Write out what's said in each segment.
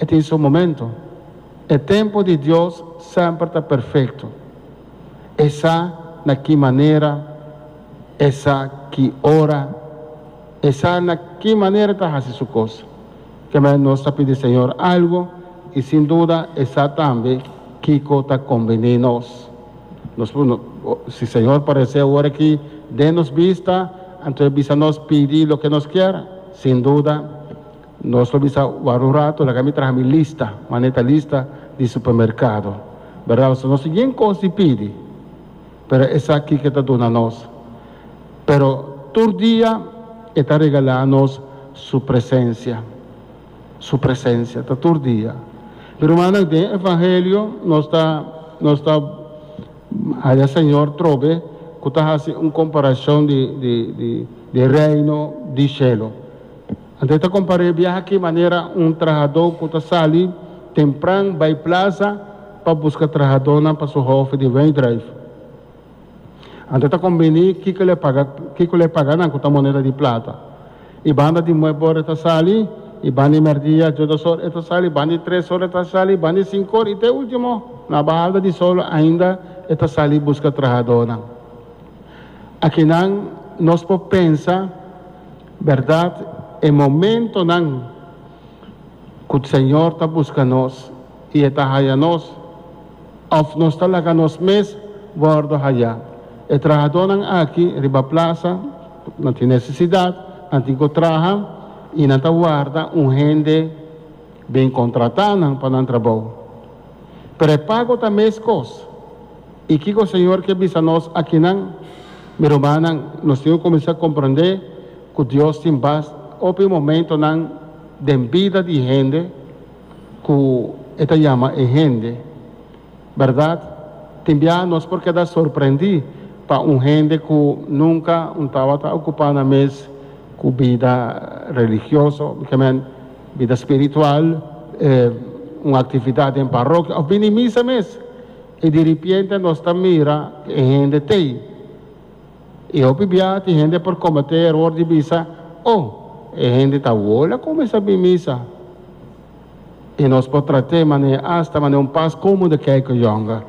E tin su momento. E tempu di Dios semper ta perfekto. E sa na ki manera, e sa ki ora, e sa na ki manera ta hasi su kos. Kemey nos ta pidi Señor algu i sin duda e sa tambe kiko ta kombení nos. Nos si Señor paresé awor aki den nos bista, anto e bisa nos pidi loke nos kier, sin duda Nos lo bisa wak un rato, laga mi traha mi lista, manera ta lista di supermercado. Berdad, pasobra nos tin yen cos di pidi, pero esaki ke ta duna nos. Pero tur dia e ta regala nos su presencia, su presencia ta tur dia. Mi rumannan, den evangelio nos ta nos ta haya Señor trobe cu ta haci un comparacion di di di di reino di cielo. Anto e ta kompar'é e biaha aki manera un trahadó ku ta sali tempran bai plaza pa buska trahadónan pa su hòfi di wijndruif. Anto e ta kombiní kiko lo e paga kiko lo e paga nan ku ta moneda di plata. I banda di nuebe ora e ta sali, i banda di mèrdia djodos or e ta sali, banda di tres or e ta sali, banda di sinku or i te último na bahalda di solo ainda e ta sali buska trahadónan. Akinan nos por pensa. Bèrdat, e momentonan ku Señor ta buska nos i E ta haya nos, òf nos ta laga nos mes wòrdu hayá. E trahadónan aki riba plasa, nan tin nesesidat, nan tin ku traha i nan ta warda un hende bin kontratá nan pa nan trabou. Pero e pago ta meskos. I kiko Señor ke bisa nos akinan? Mi rumannan, nos tin ku kuminsá komprondé ku Dios tin bas hopi momentonan den bida di hende ku E ta yama e hende. Bèrdat, tin bia nos por keda sorprendí pa un hende ku nunka un tabata okupá nan mes ku bida religioso, ke men bida spiritual, un aktividat den parokia òf bini misa mes. I di ripiente nos ta mira ku e hende t'ei. I hopi bia tin hende por kometé e eror di bisa, Oh, e hende ta wol a kuminsá bin misa. I nos por trat'é manera asta manera un pas komo de kèke yònga.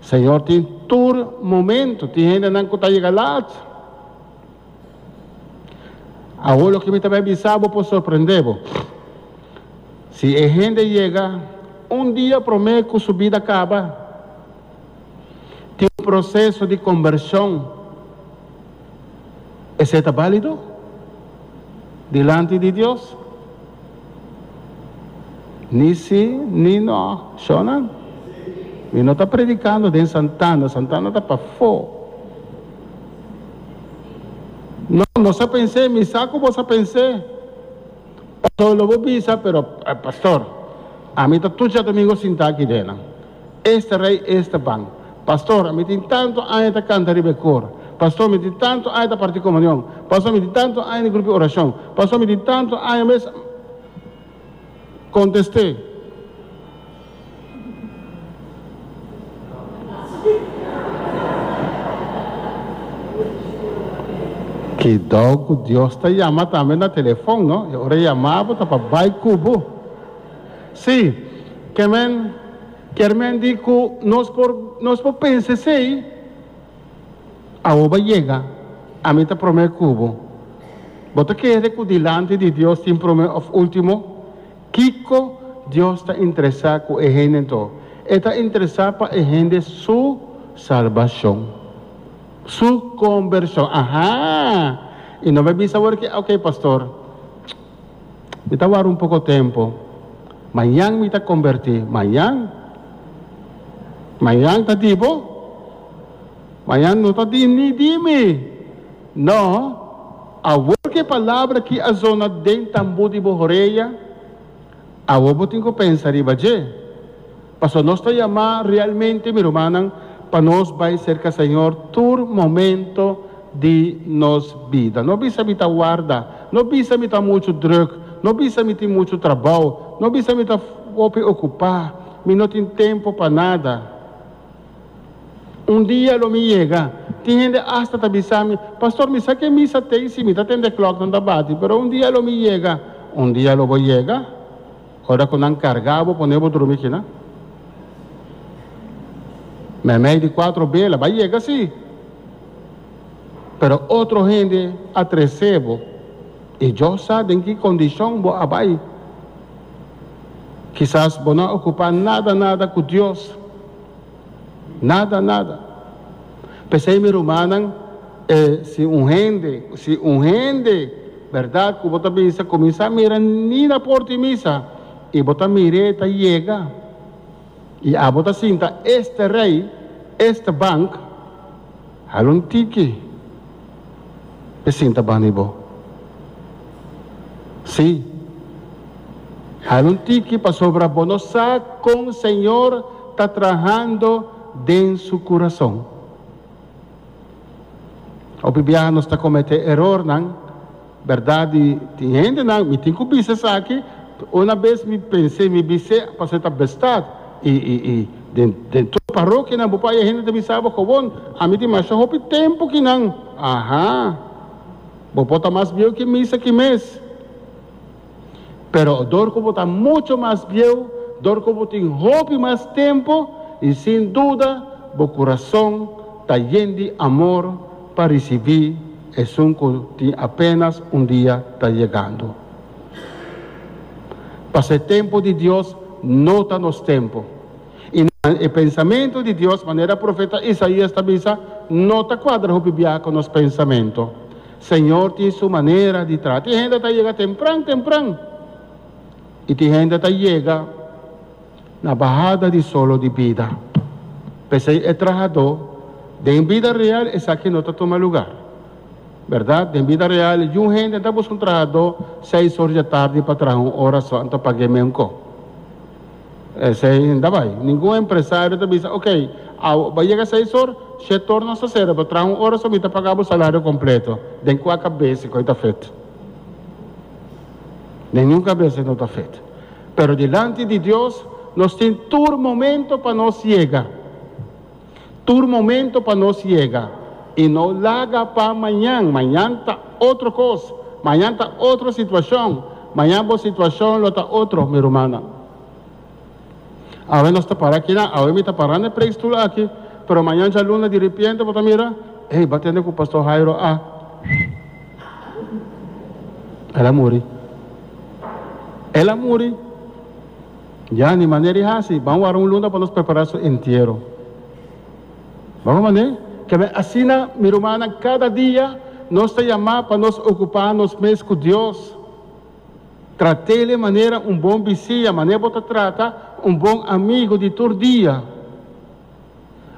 Señor tin tur momento, tin hendenan ku ta yega lat. Awor loke mi ta bai bisa bo por sorprendé bo. Si e hende yega un dia promé ku su bida kaba, tin un proseso di kombershon, esei ta bálido dilanti di Dios? Ni sí ni no. Shónan, mi no ta predikando den Santana, Santana ta pafó. No, nos a pens'é, mi sa ku bos a pens'é. Pastor lo bo bisa, pero, pastor, ami ta tur djadomingo sintá aki den nan. Esta rei, esta ban. Pastor, ami tin tantu aña ta kanta riba e kor. Pastor, mi tin tantu aña ta parti komunion. Pastor, mi tin tantu aña den grupo di orashon. Pastor, mi tin tantu aña mes. Kontest'é. Kidou ku Dios ta yama tambe na telefon, no? E ora e yama bo ta pa bai ku bo. Sí, ke men kier men di ku nos por nos por pensa esei, Awor bo a yega, ami ta promé ku bo. Bo ta kere ku dilanti di Dios tin promé òf último? Kiko Dios ta interesá ku e hende anto? E ta interesá pa e hende su salbashon, su kombershon. Aha! I no bai bisa awor ki, Oke, pastor, mi ta wara un poko tempu. Mañan mi ta kombertí. Mañan? Mañan ta di bo? Mañan no ta di ni di mi. No, awor ku e palabra aki a zona den tambú di bo horeya, awor bo tin ku pensa riba dje. Pasobra nos ta yamá realmente, mi rumannan, pa nos bai serka Señor tur momento di nos bida. No bisa mi ta warda, no bisa mi ta muchu drùk, no bisa mi tin muchu trabou, no bisa mi ta hopi okupá, mi no tin tempu pa nada. Un dia lo mi yega. Tin hende asta ta bisa mi, Pastor, mi sa ke misa tei si mi ta tende klòknan ta bati, pero un dia lo mi yega. Un dia lo bo yega? Ora ku nan karga bo pone bo drumi kina. Meimei di kuatro bela, bai yega si. Pero otro hende a trese bo i Dios sa den ki kondishon bo a bai. Kisas bo no a okupá nada nada ku Dios. Nada nada. P'esei mi rumannan, e si un hende, si un hende bèrdat ku bo ta bisa kuminsá mira ni na porta di misa i bo ta mir'é ta yega i abo ta sinta este rei, este bank, hala un tiki p'e sinta banda di bo. Sí, hala un tiki pasobra bo no sa kon Señor ta trahando den su kurason. Hopi biaha nos ta kometé erornan, bèrdat di tin hendenan, mi tin ku bisa esaki, una bes mi pens'é, mi bis'é pasobra ta bestat i i i den den tur parokianan bo por haya hende ta bisa bo kobon, ami tin masha hopi tempu kinan, aha, bo por ta mas bieu ki misa ki mes. Pero dor ku bo ta mucho mas bieu, dor ku bo tin hopi mas tempu, i sin duda bo kurason ta yen di amor pa risibí esun ku tin apenas un dia ta yegando. Pasobra e tempu di Dios no ta nos tempu, i e pensamentu di Dios, manera profeta Isaías ta bisa, no ta kuadra hopi biaha ku nos pensamentu. Señor tin su manera di traha. Tin hende ta yega tempran tempran i tin hende ta yega na bahada di solo di bida. P'esei e trahadó den bida real esaki no ta tuma lugar. Berdad, den bida real yun hende ta buska un trahadó seis or dja tardi pa traha un ora so anto pag'é menko. Esei no ta bai. Ningun empresario ta bisa, ok, awo bo a yega seis or, shet or nos ta sera, bo traha un ora so mi ta paga bo salario completo. Den cua cabes e coi ta fet? Den ningun cabes e no ta fet. Pero dilanti di Dios nos tin tur momento pa nos yega. Tur momento pa nos yega. I no laga pa mañan. Mañan ta otro kos. Mañan ta otro situashon. Mañan bo situashon lo ta otro, mi rumannan. Awe nos ta para akinan, awe mi ta para na e preekstoel aki, pero mañan djaluna di ripiente bo ta mira, ey, bo a tende ku Pastor Jairo a, el a muri. El a muri. Ya, ni manera di hasi. Ban wara un luna pa nos prepará su entiero. Ban manera? Keme asina, mi rumannan, kada dia nos ta yamá pa nos okupá nos mes ku Dios. Trat'El manera un bon bisiña, manera bo ta trata un bon amigu di tur dia.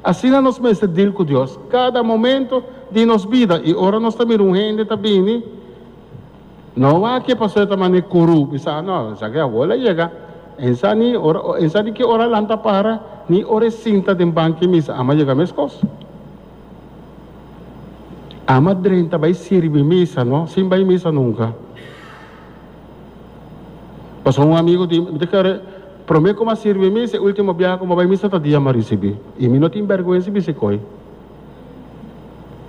Asina nos mester deal ku Dios kada momento di nos bida. I ora nos ta mira un hende ta bini, no wak e pasobra e ta manera kuru, bisa, No, esaki awor el a yega. E sa ni ora, e sa di ki ora lanta para, ni ora e sinta den banki misa. Ama yega meskos. Ama drenta bai sirbi misa, no, sin bai misa nunka. Pasobra un amigu di mi ta kere, prome ku mi a sirbi misa, e ultimo biaha ku mi a bai misa ta dia mi a risibi. I mi no tin bèrgwensa bisa e koi.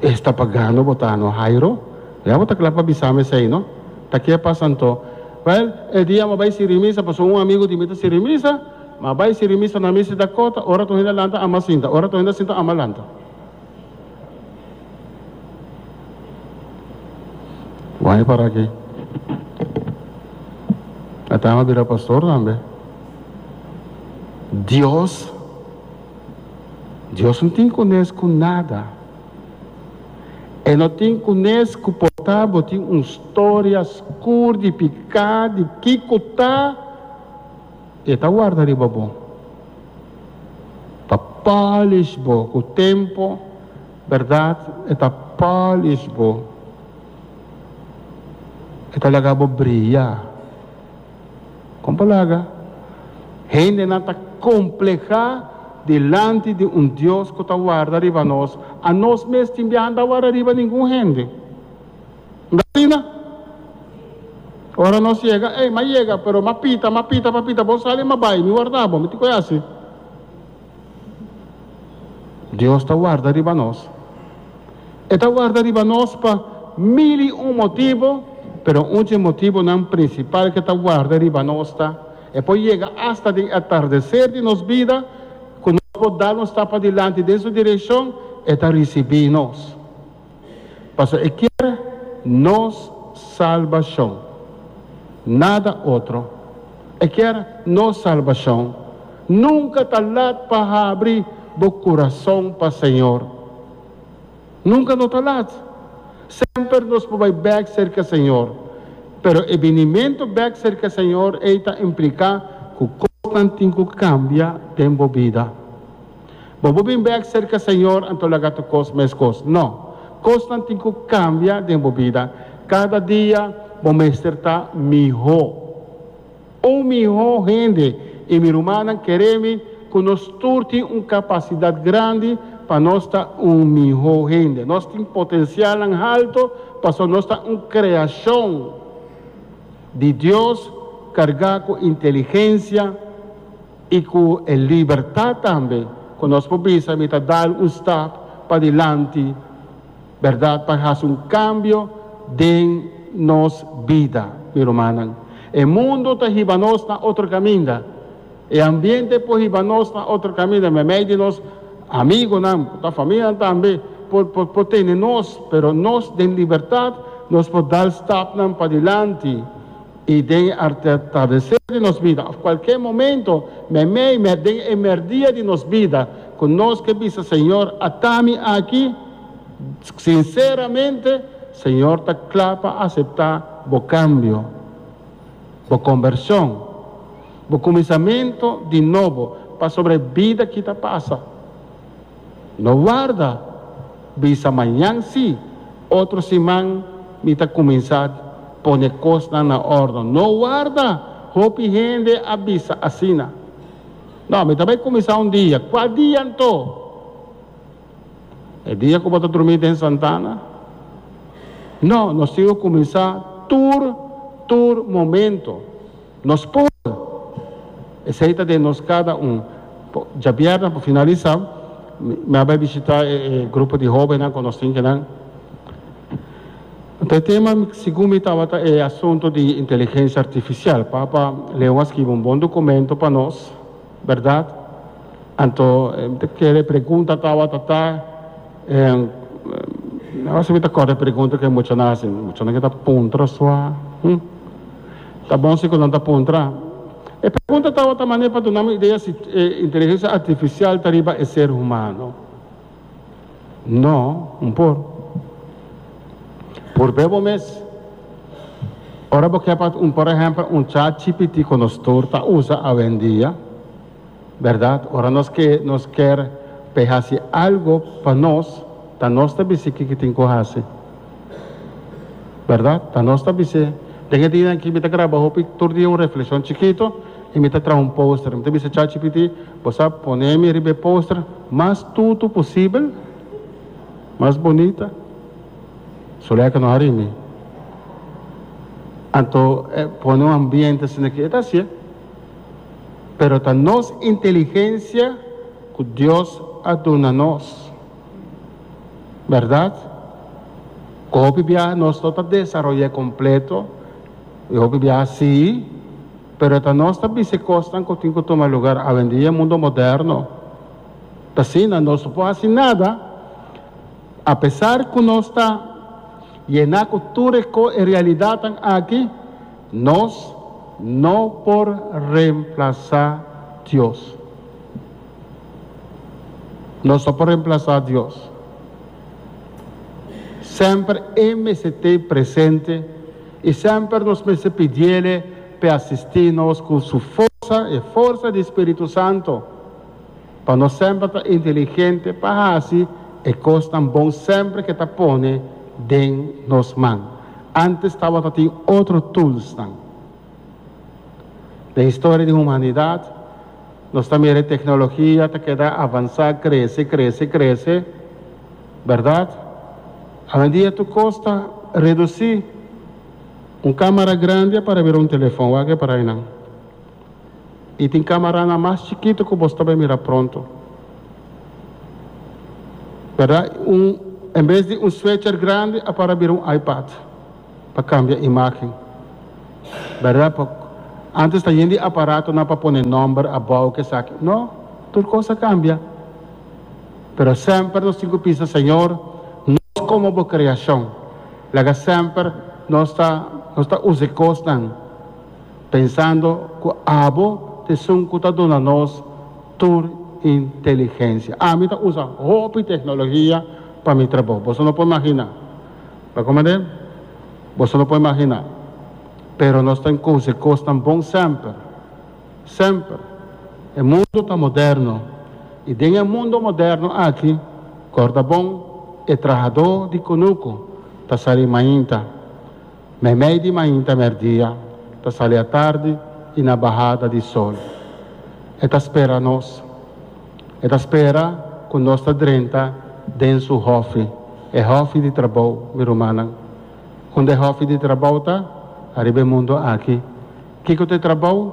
Esta pagano bo ta no, Jairo? Ya bo ta kla pa bisa mi esei, no? Ta ke pasa anto? Wèl, e dia mi a bai sirbi misa, pasobra un amigu di mi ta sirbi misa, mi a bai sirbi misa na misa Dakota, ora tur hende a lanta, ami a sinta, ora tur hende a sinta, ami a lanta. Wai para aki. A tama bira pastor tambe. Dios, Dios no tin kunes ku nada. E no tin kunes ku por ta bo tin un storia skur di piká di kiko ta, e ta warda riba bo. Pa polish bo ku tempo, berdad e ta polish bo. E ta laga bo briya. Kon bo laga? Hendenan ta kompleha dilanti di un Dios ku ta warda riba nos. Anos mes tin biaha no ta warda riba ningun hende. No ta asina? Ora nos yega, ey, m'a yega, pero m'a pita, m'a pita, m'a pita, bo sali, m'a bai, mi warda bo, mi tin ku hasi. Dios ta warda riba nos. E ta warda riba nos pa mil i un motibu, pero un dje motibunan prinsipal ku e ta warda riba nos ta. E por yega asta den atardeser di nos bida, ku nos por dal un stap padilanti den su direkshon, e ta risibí nos. Pasobra e kier nos salbashon, nada otro. E kier nos salbashon. Nunka ta lat pa habri bo kurason pa Señor. Nunka no ta lat. Semper nos por bai bèk serka Señor. Pero e binimentu bèk serka Señor ei ta impliká ku kosnan tin ku kambia den bo bida. Bo por bin bèk serka Señor anto laga tur kos meskos. No. Kosnan tin ku kambia den bo bida. Kada dia bo mester ta mihó. Un mihó hende. I mi rumannan kere mi ku nos tur tin un kapasidat grandi pa nos ta un mihó hende. Nos tin potensialnan halto pasobra nos ta un kreashon di Dios kargá ku inteligensia i ku e libertat tambe ku nos por bisa mi ta dal un stap padilanti, bèrdat, pa hasi un kambio den nos bida, mi rumannan. E mundu ta hiba nos na otro kaminda. E ambiente por hiba nos na otro kaminda, meimei di nos amigunan, por ta famianan tambe, por por tene nos, pero nos den libertat nos por dal stapnan padilanti i den e atardeser di nos bida òf kualke momento meimei den e merdia di nos bida ku nos ke bisa Señor ata mi aki, sinseramente Señor ta kla pa aseptá bo kambio, bo kombershon, bo kuminsamentu di nobo pasobra e bida ki ta pasa. No warda bisa mañan si, otro siman mi ta kuminsá pone kosnan na òrdu. No warda, hopi hende a bisa asina. No, mi ta bai kuminsá un dia. Kua dia anto? E dia ku bo ta drumí den santana? No, nos tin ku kuminsá tur, tur momento. Nos por! Esei ta den nos kada un. Djabièrnè pa finalisá, mi a bai bishitá e grupo di hóbennan ku nos tin kinan. Anto e tema segun mi tabata e asuntu di inteligensia artifisial. Papa Leon a skibi un bon dokumento pa nos, bèrdat? Anto mi ta kere e pregunta tabata ta, no si mi ta kòrda e pregunta ku e muchanan a hasi, muchanan ke ta puntra sua, hm. Ta bon si ku nan ta puntra. E pregunta tabata manera pa duna mi idea si e inteligensia artifisial ta riba e ser humano. No, un por. Purbe bo mes. Ora bo ke pa un por ehèmpel un ChatGPT ku nos tur ta usa awendia, bèrdat? Ora nos ke nos kier p'e hasi algu pa nos, ta nos ta bis'é kiko tin ku hasi. Bèrdat? Ta nos ta bis'é. Den e dianan aki mi ta graba hopi tur dia un reflekshon chikito i mi ta traha un poster. Mi ta bisa ChatGPT, Bo sa pone mi riba e poster mas tutu posibel, mas bunita. Suleika no hari mi. Anto e pone un ambiente asina ki e ta hasié. Pero ta nos inteligensia ku Dios a duna nos. Bèrdat? Ku hopi biaha nos no ta desaroy'é kompleto, i hopi biaha sí, pero ta nos ta bisa e kosnan ku tin ku tuma lugar awendia e mundo moderno. Ta asina, nos no por hasi nada, apesar ku nos ta yená ku tur e ko e realidatnan aki, nos no por remplasá Dios. Nos no por remplasá Dios. Semper E mester t'ei presente i semper nos mester pidiele p'e asistí nos ku Su forsa, e forsa di Spiritu Santo, pa nos semper ta inteligente pa hasi e kosnan bon semper ku e ta pone den nos man. Ántes tabata tin otro toolsnan. Den historia di humanidat nos ta mira e teknologia ta keda avansá, krese, krese, krese, bèrdat? Awendia tur kos ta redusí. Un kámara grandi a para bira un telefòn, wak e para einan. I tin kámaranan mas chikitu ku bos ta bai mira pronto. Bèrdat? Un, en bes di un switcher grandi a para bira un iPad. Pa cambia imagen. Berdad? Pa. Antes ta yen di aparatonan pa pone nòmber abou ku esaki. No, tur kos a kambia. Pero semper nos tin ku bisa, Señor, nos komo bo kreashon, laga semper nos ta nos ta usa e kosnan pensando ku abo ta esun ku ta duna nos tur inteligensia. Ami ta usa hopi teknologia pa mi trabou. Boso no por imaginá. Bo a komprendé? Boso no por imaginá. Pero nos ta enkohe kosnan bon semper. Semper. E mundu ta moderno. I den e mundu moderno aki, kòrda bon, e trahadó di kunuku ta sali mainta, meimei di mainta mèrdia, ta sali atardi i na bahada di sol. E ta spera nos. E ta spera ku nos ta drenta den su hòfi, e hòfi di trabou, mi rumannan. Unda e hòfi di trabou ta? Ariba e mundu aki. Kiko ta e trabou?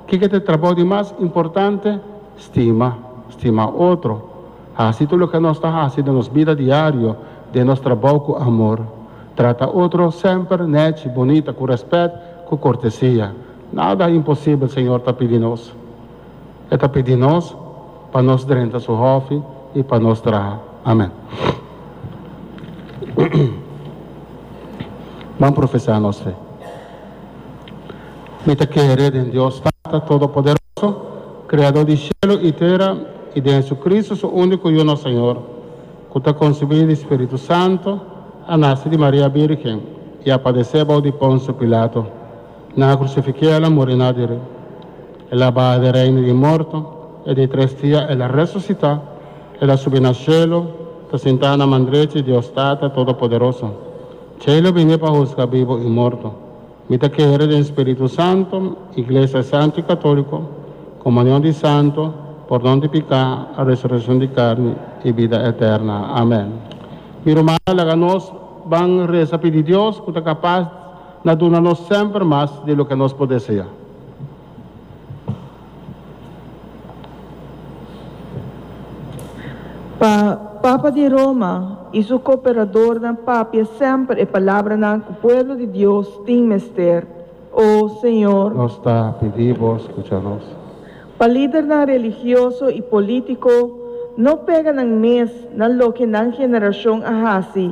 Kiko ta e trabou di mas importante? Stima. Stima otro. Hasi tur loke nos ta hasi den nos bida diario, den nos trabou ku amor. Trata otro semper nèchi, bunita, ku rèspèt, ku kortesia. Nada imposibel Señor ta pidi nos. E ta pidi nos pa nos drenta su hòfi i pa nos traha. Amen. Ban profesá nos fe. Mi ta kere den Dios Tata Todopoderoso, Kreador di shelu i tera, i den Jesucristo, su úniko Yu, nos Señor, ku ta konsebí di Spiritu Santu, a nase di Maria Bírgen, i a padesé bou di Ponsio Pilato. Nan a krusifik'é, el a muri na diri. El a baha den reino di morto, e di tres dia el a resusitá, el a subi na shelu, ta sintá na man drechi di Dios Tata Todopoderoso. Djei lo bini pa husga bibu i morto. Mi ta kere den Spiritu Santu, Iglesia Santu i Katóliko, komunion di santu, pordon di piká, resurekshon di karni i bida eterna. Amèn. Mi rumannan, laga nos ban resa pidi Dios ku ta kapas na duna nos semper mas di loke nos por deseá. Pa Papa di Roma i su kooperadornan papia semper e palabranan ku pueblo di Dios tin mester, O Señor. Nos ta pidi Bo skucha nos. Pa lidernan religioso i polítiko no pega nan mes na loke nan generashon a hasi,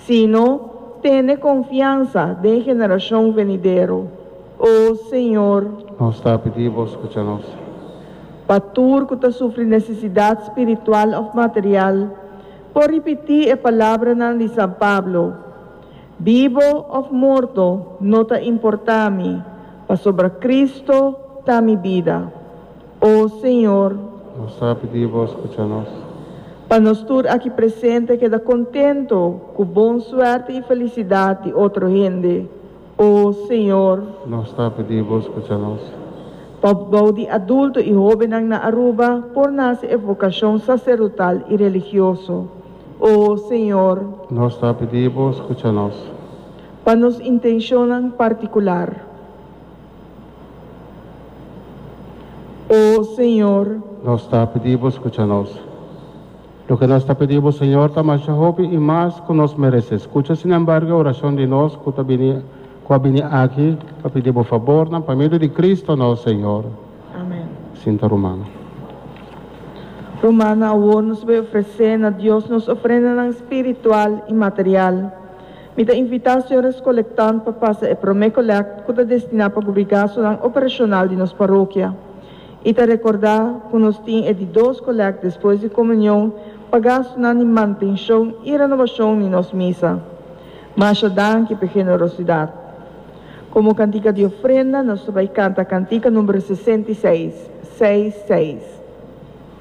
sino tene konfiansa den generashon venidero. O Señor. Nos ta pidi Bo skucha nos. Pa tur ku ta sufri nesesidat spiritual òf material, por ripití e palabranan di San Pablo, Bibo òf morto no ta importá mi, pasobra Cristo ta mi bida. O Señor. Nos ta pidi Bo skucha nos. Pa nos tur aki presente keda kontento ku bon suerte i felisidat di otro hende. O Señor. Nos ta pidi Bo scucha nos. Pa bou di adulto y hobennan na Aruba por nace e vocacion sacerdotal y religioso. O Señor. Nos ta pidi Bo scucha nos. Pa nos intencionnan particular. O Señor. Nos ta pidi Bo scucha nos. Loke nos ta pidi bo, Señor, ta masha hopi i mas ku nos meresé. Skucha, sinembargo, e orashon di nos ku ta bini, ku a bini aki pa pidi bo fabornan pa medio di Cristo nos Señor. Amen. Sinta ruman. Rumannan, awor nos bai ofresé na Dios nos ofrendanan spiritual i material. Mi ta invitá señores kolektant pa pasa e promé kolèkt ku ta destiná pa kubri gastunan operashonal di nos parokia. I ta rekordá ku nos tin e di dos kolèkt despues di komunion pa gastunan di mantenshon i renobashon di nos misa. Masha danki p'e generosidat. Komo kantika di ofrenda nos ta bai kanta kantika number 66, seis seis.